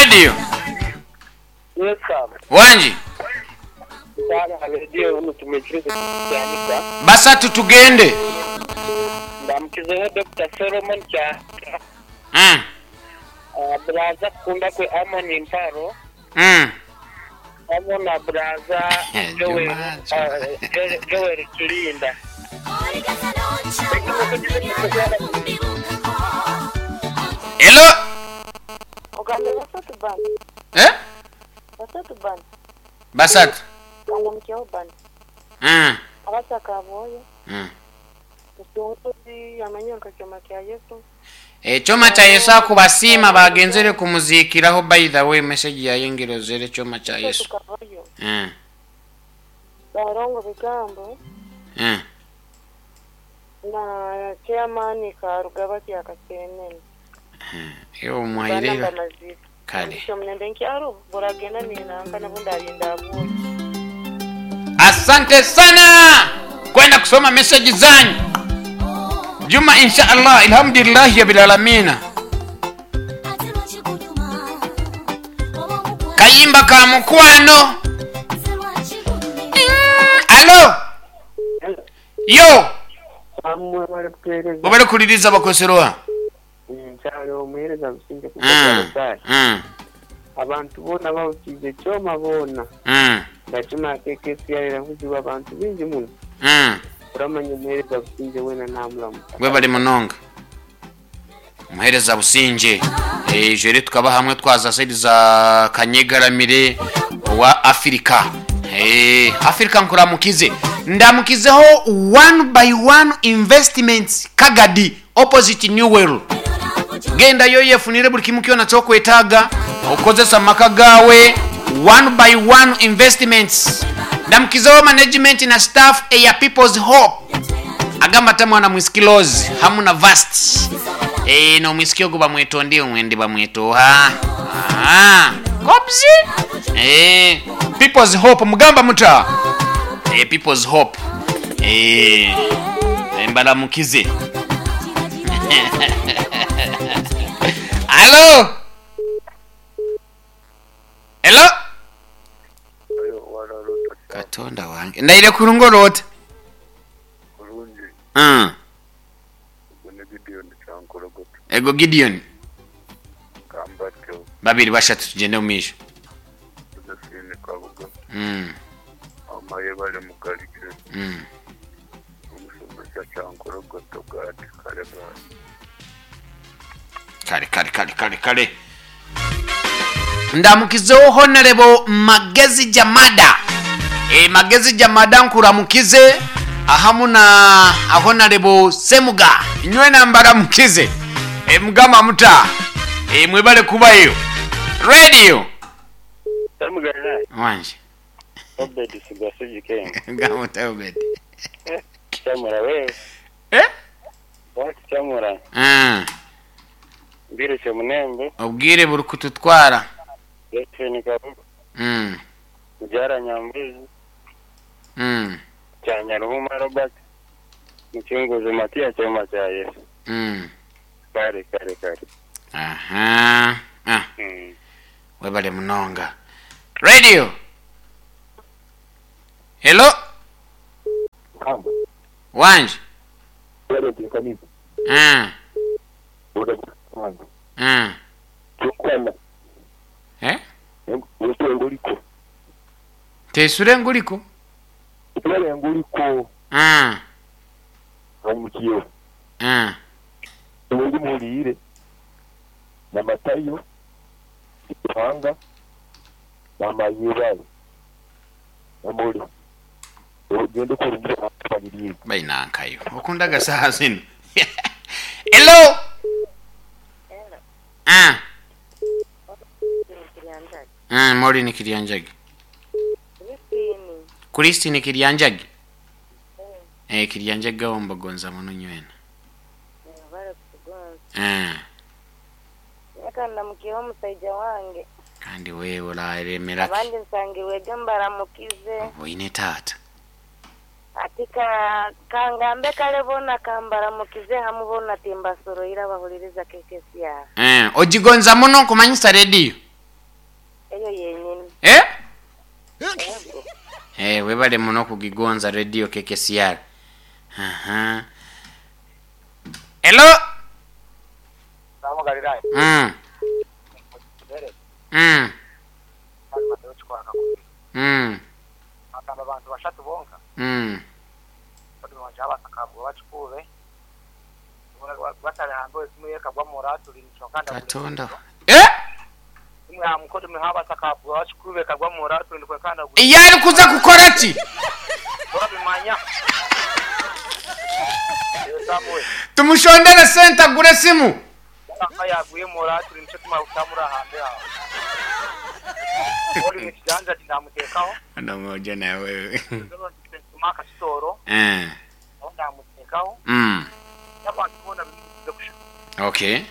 Radio. Yes sir. Wangi. Nkyali aha radio tumwikirize Kyanika. Basatu tugende. Ndamukizeho Dokita Solomon Kyanika. Mm. Buraza Kukundakwe Amon Mparo. Mm. Hamwe na Buraza Joel, Juma, Juma. Joel Kirinda. Hello. Ogambe basatu bana. Eh? Basatu bana. Basatu. Kandamukyeho bana. Mm. Abasaka aboyo. Mm. Mutunguzi amanya nka kyoma kya Yesu. Ekyoma kya Yesu akubasiima bagenzere kumuziikiraho by the way message yayengera ozere ekyoma kya Yesu. Tukavayo. Mm. Barongo bigambo Mm. na chairman Karugaba kya Kasenene. Ewe omwaire Bana bamazire. kale. Ekyo munende nkyaro buragenda ninanka nabundi arinda abuye. Asante sana kwenda kusoma message zanyu. Juma insha Allah, alhamdulillah rabbil alamina. Kayimba ka mukwano. Alo. Yo, Bamwe bari kutuheereza. bobale kuliriza bakoserwa. Nkyali omuheereza Businge Mm. kuba Mm. Abantu boona bahukiize kyoma boona. Mm. Ndakima kekesi yaravuzibwa abantu bingi muno. Mm. Uramanya omuheereza Businge weena namuramu. Webale munonga. Muhereza Businge. Ejo rero tukaba hamwe twaza side za Kanyegaramire wa Afrika. Afrika nkuramukize. Ndamukizeho one by one investments Kagadi opposite New World. Genda yo yefunire buli kimu kyona kyokwetaaga okozesa maka gawe one by one investments. Ndamukizeho management na staff eya People's Hope. Agamba ata mwana mwisikilozi hamu na vast e, nomwisiki ogwo bamwetonde omwende bamwetoha Ah, kobzi e, People's Hope mugamba muta e, People's Hope e, embalamukize. Alo. Hello. Katonda wange ndaire kurungorota. Bulungi. Ogwo ni Gideon Kyankorogoto. Ego Gideon. Kambatyo. Babiri bashatu tugende omu maisho. Josephine Kabuga. Amaye bari Mugarike. Omushomesa Kyankorogoto Gadi kare bari. Kare kare kare kare kare. Ndamukizeho Honorable Magezi Jamada. Magezi Jamada nkuramukize ahamu na Honorable Semuga. Inywe nambaramukize. Mugamba muta. Mwebale kubayo. Radio. Samugana. Wanje. Obed Sigasugi Ken. Mugamba muta Obed. Chamura wewe. Eh? Wati chamura. Mbirushe munembe. Obwire buri kututwara. Josephine Kabuga. Mubyara Nyambuzi. Kyanyaruhuma Robert. Mucunguzi Matiya Kyoma kya Yesu. Kare kare kare. Aha. Ah. Webale munonga. Radio. Hello. Wanje. Eh? Tesure nguliko. Nguliko. Omukiyo. Ndi muhuriire. Na Matayo. Ruhanga. Na Mayibale. Namuri. Ogende kurungira abanyiriye. Bainankayo. Okundaga saha zino. Hello. Kiryanjagi. Maureen Kiryanjagi. Christine. Christine Kiryanjagi. Kiryanjagi awo mbagonza muno nywena. Bari kutugonza. Reka ndamukiyeho omusaija wange. Kandi wewe oraremeraki. Abandi nsangirwege mbaramukize. Oine taata. Ati kangambe kale bona kambaramukize hamu bona timbasoroire abahuririza kekesi yawe. Ogigonza muno nkumanyisa radio. Eh? Eh, webale muno kugigonza radio KKCR. Aha. Hello. Mm. Mm. Mm. Agamba abantu bashatu bonka. Mm. Katonda. Eh? Yari kuza kukora ki? Tumushondere sente agure simu. Ndamoja na wewe. Eh. Mm. Okay.